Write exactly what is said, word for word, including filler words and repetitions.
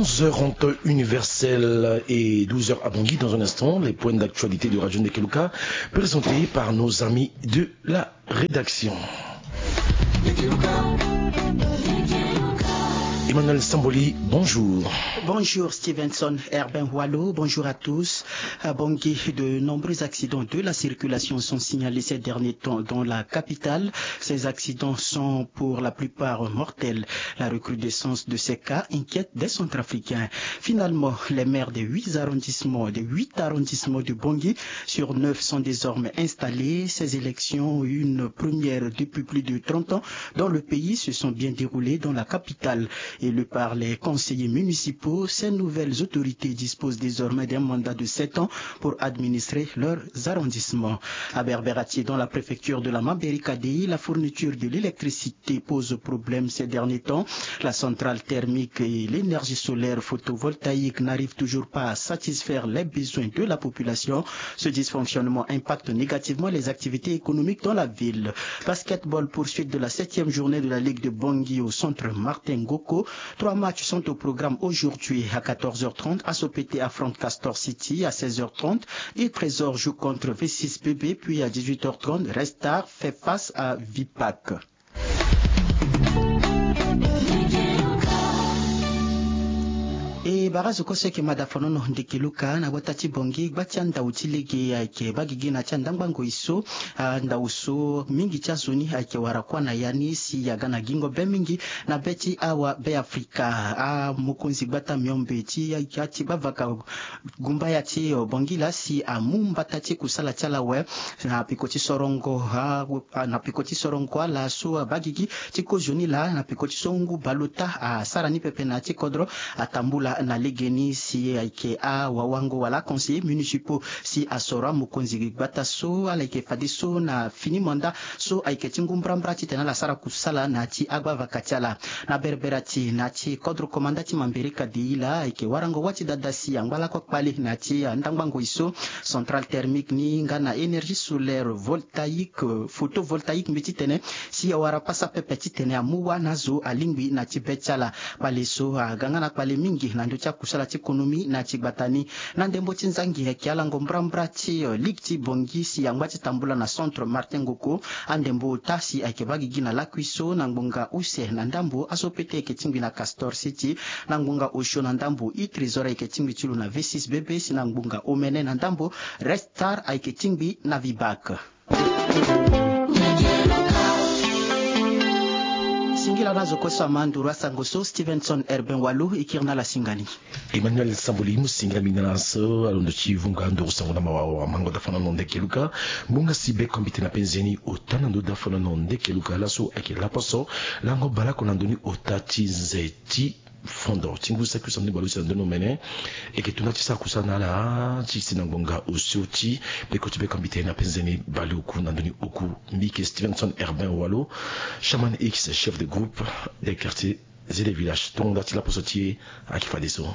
Onze heures en temps universel et douze heures à Bangui. Dans un instant, les points d'actualité de Radio Ndekeluka, présentés par nos amis de la rédaction. Emmanuel Samboli, bonjour. Bonjour Stevenson Herbin Walo, bonjour à tous. À Bangui, de nombreux accidents de la circulation sont signalés ces derniers temps dans la capitale. Ces accidents sont pour la plupart mortels. La recrudescence de ces cas inquiète des Centrafricains. Finalement, les maires des huit arrondissements, des huit arrondissements de Bangui sur neuf sont désormais installés. Ces élections, une première depuis plus de trente ans dans le pays, se sont bien déroulées dans la capitale. Élus par les conseillers municipaux, ces nouvelles autorités disposent désormais d'un mandat de sept ans pour administrer leurs arrondissements. À Berberatie, dans la préfecture de la Mambérika Dei, la fourniture de l'électricité pose problème ces derniers temps. La centrale thermique et l'énergie solaire photovoltaïque n'arrivent toujours pas à satisfaire les besoins de la population. Ce dysfonctionnement impacte négativement les activités économiques dans la ville. Basketball, poursuite de la septième journée de la Ligue de Bangui au centre Martin Ngoko. Trois matchs sont au programme aujourd'hui. À quatorze heures trente, Asopete affronte Castor City. À seize heures trente, Il Trésor joue contre V six B B, puis à dix-huit heures trente, Restar fait face à Vipac. E bara zo kue so eke ma dafanono Ndekeluka na gbata ti Bangui, gba ti andau ti lege ayeke baa gigi na ti andangba ngoi so. Andau so mingi ti azo ni ayeke wara kuâ na ya ni si aga na gingo be mingi na be ti awa Beafrika. Amokonzi gbata miombe ti ya ti gbavaka gumbaya ti Bangui laa si amu mbata ti kusala ti ala awe na peko ti sorongo, na peko ti sorongo ala so abaa gigi ti kozoni laa na peko ti so ngu baleota asara ni pepe na ya ti kodro. Atambula na legeni si ayeke awawango wala aconseillers municipaux si asoro amokonzi gbata so ala yeke fadeso na fini mandat so ayeke ti ngu mbrambra titene ala sara kusala na ya ti agbavaka ti ala. Na berbera ti na ya ti kodro komanda ti Mambérika Dei laa ayeke warango wâ ti dada si angba lakue kpale na ya ti andangba ngoi so. Centrale thermique ni nga na énergie solaire voltaïque, photovoltaïque mbi titene si awara pasa pepe titene amu wâ na azo alingbi na ya ti be ti ala. Kpale so aga nga na kpale mingi na ndö ti akusala ti konomi na ya ti gbata ni. Na ndembo ti nzangi ayeke alango mbrambra ti Ligue ti Bangui si angba ti tambula na centre Martin Ngoko. Andembo ota si ayeke baa gigi na lakui so na ngbonga use na ndambo Asopete ayeke tingbi na Castor City. Na ngbonga osio na ndambo Il Trésor ayeke tingbi ti lo na V six B B, si na ngbonga omene na ndambo Restar ayeke tingbi na Vibac. Singila na zo kue so ama nduru asango so, Stevenson Herbin Walo e kiri na ala singa ni. Emmanuel Samboli, mo singa mingi na ala so alondo ti vunga nduru sango na mawa awa mango dafanono Ndekeluka. Ngbonga si be kombite na penze ni ota na ndö dafanono Ndekeluka laso ayeke laposo lango baleoko na ndö ni ota ti nze ti fondo ti ngu saki use na ndö ni baleuse na ndö ni omene. Eke tuna ti sara kusala na ala ti si na ngbonga osio ti peko ti be kombite na penze ni baleoku na ndö ni oku. Mbi yeke Stevenson Herbin Walo, chaman X, chef de groupe des quartiers et des villages. Tongo nda ti laposo ti e ayeke fadeso.